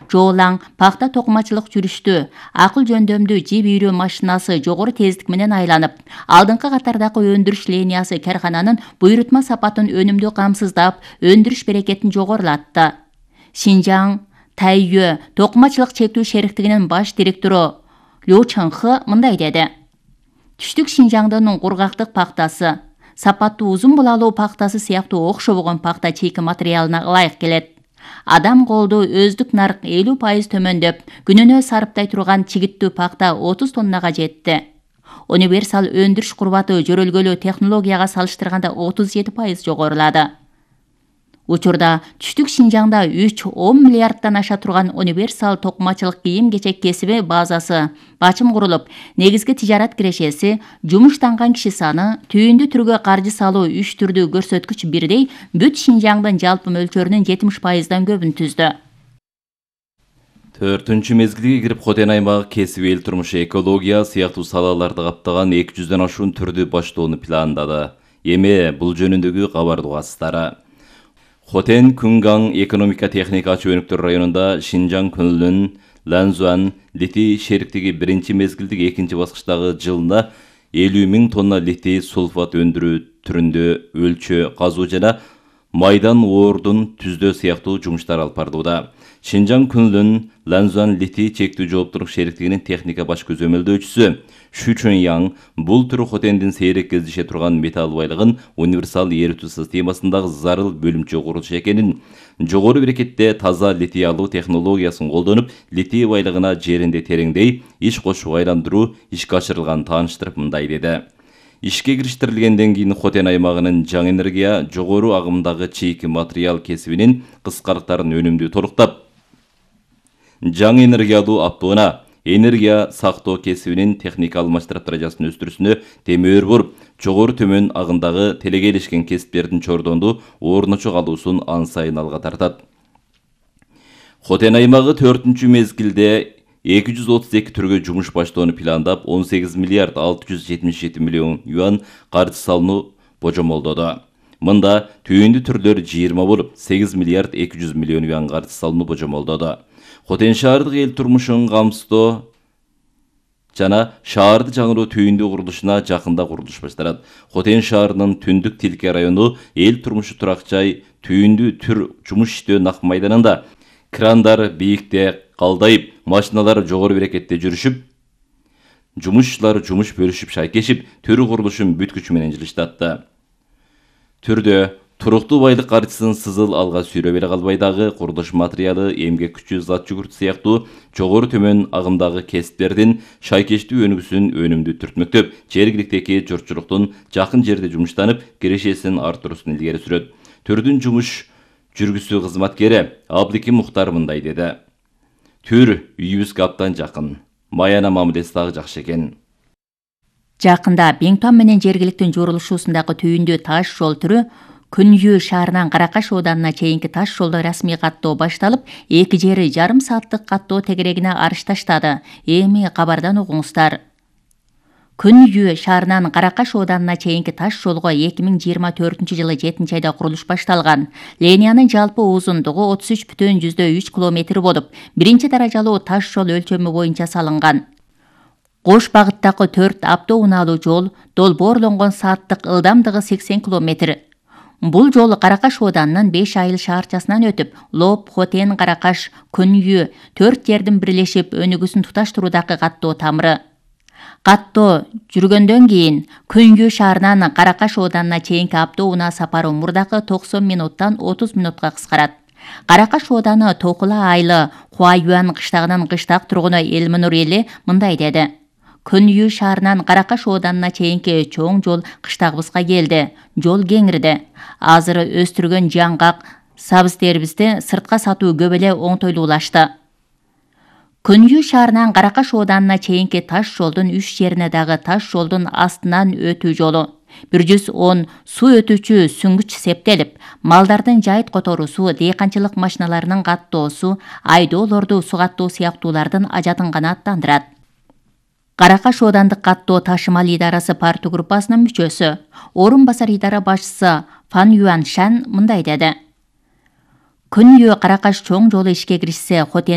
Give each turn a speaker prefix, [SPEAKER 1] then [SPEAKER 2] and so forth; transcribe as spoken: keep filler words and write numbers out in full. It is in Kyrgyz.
[SPEAKER 1] Жоолаң пахта токумачылык жүрүштү. Акыл жөндөмдүү жип үйрөө машинасы жогору тездик менен айланып, алдыңкы катардагы өндүрүш линиясы каркананын буйрутма сапатын өнүмдүү камсыздап, өндүрүш берекетин жогорулатты. Шинжаң Тайюэ токумачылык чектүү шериктигинин баш директору Лю Чыңхы мындай деди. Түштүк Шинжаңдын кургактык пахтасы, сапаттуу узун булалуу пахтасы сыяктуу окшобогон пахта чийки материалына ылайык келет. Адам колду өздүк нарк элүү пайыз төмөндөп, күнүнө сарыптай турган чигиттүү пахта отуз тоннага жетти. Универсал өндүрүш курбаты жөрөлгөлүү технологияга салыштырганда отуз жети пайыз жогорулады. Учурда түштүк Шинжаңда үч он миллиарддан аша турган универсал токумачылык кийим-кечек кесиби базасы бачым курулуп, негизги тижарат кирешеси, жумуштанган киши саны, түйүндү түргө каржы салуу үч түрдүү көрсөткүч бирдей бүт Шинжаңдын жалпы мөлчөрүнүн жетимиш пайыздан көбүн түздү.
[SPEAKER 2] Төртүнчү мезгилге кирип, Хотен аймагы кесип, эл турмушу, экология сыяктуу салаларды каптаган эки жүздөн ашуун түрдү баштоону пландады. Эми бул жөнүндөгү кабарды угасыздар. Хотен Күнгаң экономика техника чөйрөктөр районунда Шинжаң Күнлүн Ланзуан литий шериктиги биринчи мезгилдик экинчи баскычтагы жылына элүү миң тонна литий сульфат өндүрүү түрүндө өлчө казуу жана майдан оордун түздөө сыяктуу жумуштар алып барылууда. Шинжаң Күнлүн Ланзуан литий чектүү жооптуулук шериктигинин техника баш көзөмөлдөөчүсү Шу Чөньяң бул түрү Хотендин сейрек кездеше турган металл байлыгын универсал эритүү системасындагы зарыл бөлүмчө курулуш экенин, жогору берекетте таза литий алуу технологиясын колдонуп, литий байлыгына жеринде тереңдей иш кошуп айландыруу ишке ашырылганын тааныштырып мындай деди. Ишке кириштирилгенден кийин Хотен аймагынын жаңы энергия жогору агымдагы чийки материал кесибинин кыскалыктарын өнүмдүү толуктап, жаңы энергия алуу аптоона энергия сактоо кесибинин техника алмаштырып даражасын өстүрүүсүнө темөөр болуп, жогору төмөн агымдагы телегейлешкен кесиптердин чордонду орночо калуусун ан сайын алга тартат. Хотен аймагы төртүнчү мезгилде эки жүз отуз эки түргө жумуш баштоону пландап, он сегиз миллиард алты жүз жетимиш жети миллион юан каржы салууну божомолдоду. Мында түйүндү түрлөр жыйырма болуп, сегиз миллиард эки жүз миллион юан каржы салууну божомолдоду. Хотен шаардык эл турмушун камсыздоо жана шаарды жаңыруу түйүндү курулушуна жакында курулуш башталат. Хотен шаарынын түндүк Тилке району эл турмушу турак жай түйүндү түр жумуш иштөө нак майданында крандар бийикте калдайып, машиналар жогору берекетте жүрүшүп, жумушчулар жумуш бөлүшүп шайкешип, төр курулушун бүт күчү менен жылыштатты. Түрдө туруктуу байлык каржысын сызыл алга сүйрөп эле калбай дагы курулуш материалы, эмгек күчү, зат жүгүрт сыяктуу жогору төмөн агымдагы кесиптердин шайкештүү өнүгүүсүн өнүмдүү түртмөктөп, жергиликтеги журтчулуктун жакын жерде жумуштанып, кирешесин артыруусун илгери сүрөт. Түрдүн жумуш жүргүзүү кызматкери Абдыким Мухтар мындай деди. Түр үйүбүзгө абдан жакын. Маяна мамилеси дагы жакшы экен.
[SPEAKER 1] Жакында Беңтон менен жергиликтин журулушуусундагы түйүндүү таш жол түрү Күнйүү шаарынан Каракаш ооданына чейинки таш жолдо расмий каттоо башталып, эки жери жарым сааттык каттоо тегерегине арыш таштады. Эми кабардан угуңуздар. Күнйүү шаарынан Каракаш ооданына чейинки таш жолго эки миң жыйырма төртүнчү жылы жетинчи айда курулуш башталган. Линиянын жалпы узундугу отуз үч бүтүн жүздөн үч километр болуп, биринчи даражалуу таш жол өлчөмү боюнча салынган. Кош багыттагы төрт автоунаалуу жол долбоорлонгон сааттык ылдамдыгы сексен километр. Бул жол Каракаш ооданынын беш айыл шаарчасынан өтүп, Лоп, Хотен, Каракаш, Күнйүү төрт жердин бирлешип өнүгүүсүн туташтыруудагы каттоо тамыры. Каттоо жүргөндөн кийин Күнйүү шаарынан Каракаш ооданына чейинки автоунаа сапары мурдагы токсон минуттан отуз минутка кыскарат. Каракаш ооданы Токула айылы Хуаюан кыштагынын кыштак тургуну Элминур эли мындай деди. Күнйүү шаарынан Каракаш ооданына чейинки чоң жол кыштагыбызга келди. Жол кеңирди. Азыр өстүргөн жаңгак сабыз-тербизди сыртка сатуу көп эле оңтойлуулашты. Күнйүү шаарынан Каракаш ооданына чейинки таш жолдун үч жерине дагы таш жолдун астынан өтүү жолу бир жүз он суу өтүүчү сүңгүч септелип, малдардын жайыт которуусу, дыйканчылык машиналарынын каттоосу, айдоолорду сугаттоо сыяктуулардын ажатынганы аттандырат. Каракаш оодандык каттоо ташымал идарасы парту группасынын мүчөсү, орун басар идара башчысы Фан Юан Шан мындай деди. Күнйүү Каракаш чоң жолу ишке киришсе, Хотен